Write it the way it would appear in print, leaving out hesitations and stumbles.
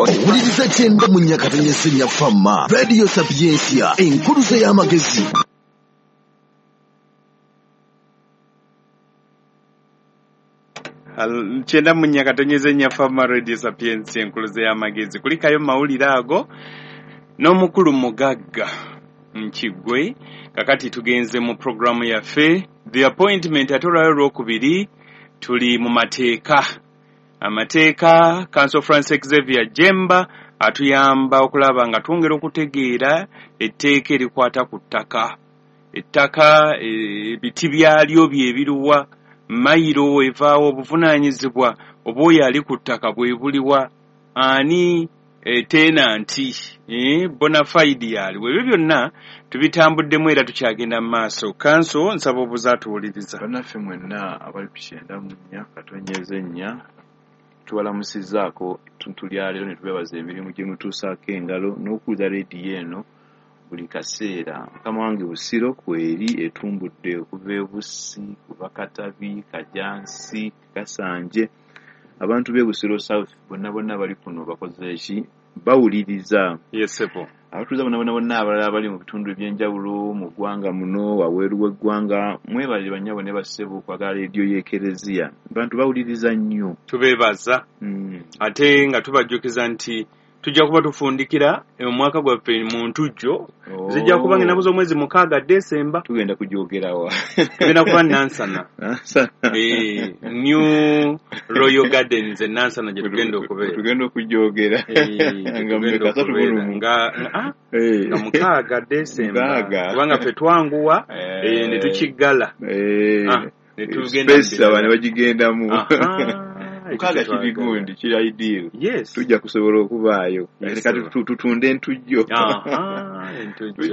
Owuliriza kyenda mu Nyakatonye Fama Radio Sapientia, enkuluze y'amagezi. 94 Fama Radio Sapientia, enkuluze y'amagezi. Kulikayo mawulire ago n'omukulu Mugagga Nkigwe. Kakati tugenze mu programu yaffe The Appointment, ate olwayo olwokubiri tuli mu mateeka. Amateeka, Counsel Francis Xavier Jemba atuyamba okulaba nga twongera okutegeera etteeka erikwata ku ttaka. Ettaka, ebiti byalyo bye biruwa, mayiro evaawo, obuvunaanyizibwa oba oyo ali ku ttaka bwe buliwa, ani tenanti, bona fide yaliwo. Ebyo byonna tubitambuddemu era tukyagenda mu maaso. Counsel, nsaba obuze atuwuliriza. Bannaffe mwenna abali ku 94.4 tubalamusizzaako ettuntu lya leero ne tubeebaza emirimu gye mutuusaako engalo n'okuwulira leediyo eno buli kaseera. Mukama wange Busiro kweri etumbudde okuva e Bussi, kuva Katabi, Kajansi, Kasanje. Abantu b'e Busiro South bonna bonna bali kuno bakoze ki? Bawuliriza. Yesebo. Abatuuze bonna bonna bonna abalala abali mu bitundu eby'enjawulo mu ggwanga muno, waweeru w'eggwanga, mwebalire bannyabo ne bassebo okwagala leediyo y'Ekereziya. Abantu bawuliriza nnyo. Tubeebaza. Ate nga tubajjukiza nti tujja kuba tufundikira omwaka gwaffe mu ntujjo. Zijja kuba ng'ennaku z'omwezi 6 Desemba. Tugenda kugyogerawa. Tugenda kuba Nansana. New Royal Gardens e Nansana gye tugenda okubeera. Tugenda okugyogera. Nga mmeka? 31. Nga 6 Desemba. Kubanga ffe twanguwa ne tukiggala. Ne tugenda space abantu bagigendamu. Mukaaga kiri gundi, kiri ideal. Yes. Tujja kusobola okubaayo. Kati tutunde entujjo. Entujjo.